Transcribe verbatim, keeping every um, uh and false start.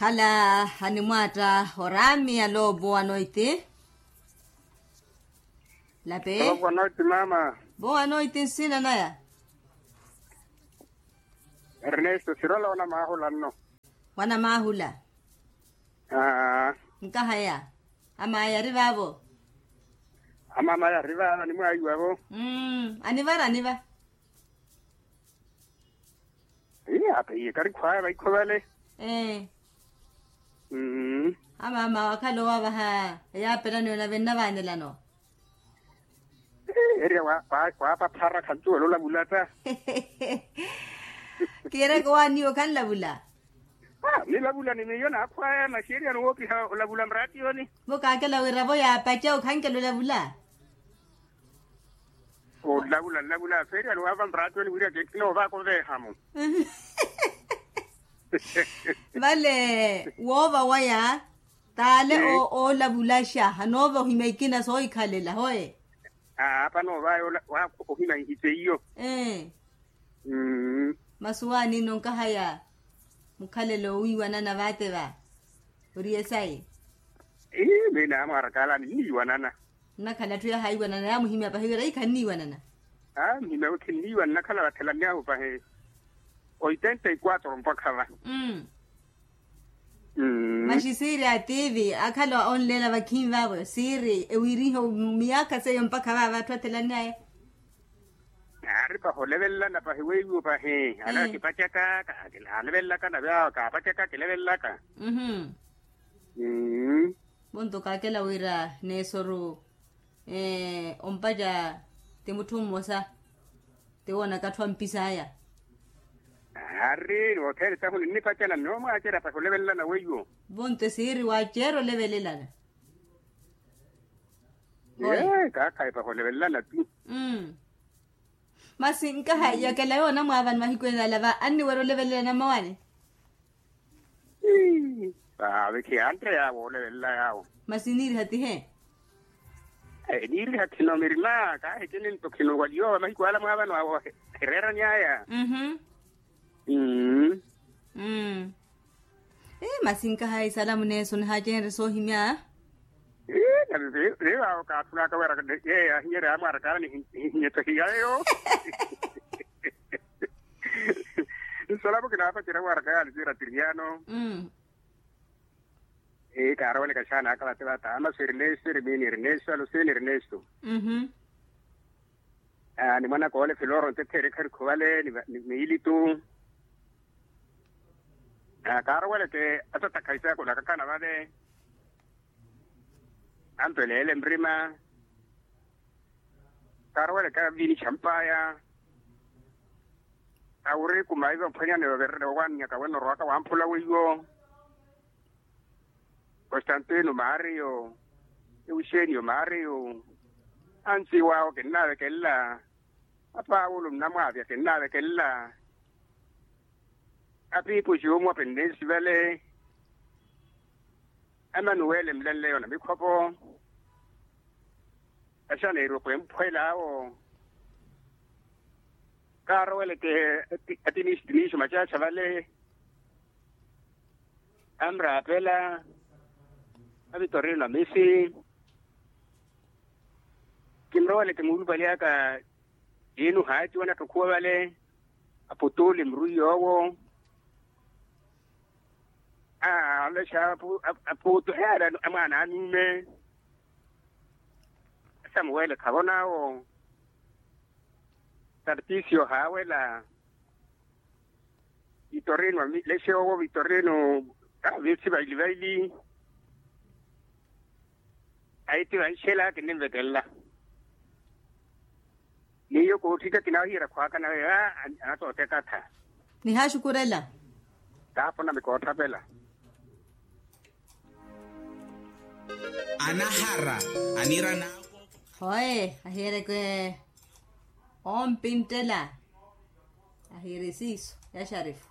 Ala animwaatta oraami aloopo anoiti. Lape. Aloopo anoiti mama. Bo anoiti nsina naya. Ernesto siroloona maahula nno. Wana maahula. Aa. Nkahaya. Amaya ari vaavo. Amamaya ari vaavo animwaiwavo. Mmm anivara aniva. Iya apeiye karikhwaya vaikho vale. Ee. Mmm. Amama wakhala owavaha eyaapelaniwe nave nnavaanelano. Eriya waapaphara khantuwela olavula ta. Kiireke owaaniwe okhanlavula. Nilavula ni miyo naakhwaya masi eriyano woopiha olavula mraatiyoni. Vo kaakela wira vo yaapaca okhankela olavula. Olavula nlavula feeriyano waava mraatiyoni wira kinoovaka oveeha-mo. Vale woova waya taale oolavulaxa hanoova ohimya ikina soohikhalela hoe. Aapa noovaya ohimya nhite iyo. Masi waanino nkahaya mukhalelo owiiwanana vaate va ori esayi. Ii miyo naamwaarakaala ninniiwanana. Nnakhala atthu yahaiwanana yaamuhimya pahi wira ii khanniiwanana. Aa muhimya wi khinniiwanana nnakhala vathelanyahu pahi. Oitenta y quatro mpakha va. Masi siiri a tivi akhala onleela vakhinvavo siiri ewiriho miyaakha seiyo mpakha vaava atthu athelannaya. Aari pahi olevelelana pahi weiwo pahi ale akipacaka. Alevelelaka nave awo kaapacaka kilevelelaka. Vonto kaakela wira neesoru ompaca ti mutthu mmosa ti woonaka atthu ampisaya. Aari ni othene tahu ninnipacana nnoomwaacerya pahi olevelelana weiwo. Vonto esiiri waaceera olevelelana. Ee kaakhayi pahi olevelelana tu. Masi nkaha yakela yoona mwaavani mahiku ene ala va anniwerya olevelelana mmawaani. Ii vaavi khiyantte yaawo olevelela yaawo. Masi niiriha tihe. Niiriha khino mirima kaahikini nto khino wali yoowa mahiku ala mwaavani waawo. Hireerany'aya. Mmm. Masi nkahayi salamu neeso nihaacenrye soohimya. Ii nave vivaawo kaathulaka wira yeeyo ahinyerya amwaarakaala nihinyetsehiya eyo. Nsalamu kinaapacerya mwaarakaala siira tiriano. Ii kaaroweleka xaana aka vate vata ama si ernesto eri miini ernesto alusini ernesto. Ni mwanaka ole filoro ntetheeri kharikhu vale ni miilitu. Kaaroweleke atatakhayi saakhu nakakhana vale. Ampeleele mrima. Kaaroweleke aviinixa mpaaya. Awuri kumaiva mphwanyani vaverene owannyaka wene orowaka wamphula weiwo. Constantino mario, euxenio mario. Ansi waawo kinnaavekelela. Apawulu nnamwaavya kinnaavekelela. Apiipo xiyuumwa pinnensi vale. Amanuwele mlenleyo na mikhopo. Axaneeriwe khwemphwel'awo. Kaaroweleke atiniixi tiniixi omacaxa vale. Anraapela. Avitorino na misi. Kinroweleke muulupali aka. Tiinu haaciwa natthukhuwa vale. Aputuli muru yoowo. Aa olexa aputu eyaari amwaana anuume. Samuwele khavon'awo. Tartisio haawela. Vitorino amilexe owo vitorino. Avesi vaili vaili. Ayi ti vanxela kinnimvekelela. Miyo kootthika kinahiyera khwaaka nawe aa. Anatootekatha. Nihaxukurela. Taapona mikoothapela. Anahara anira naavo. Hoye ahiyereke. Ompintela. Ahiyere siiso ya xarifu.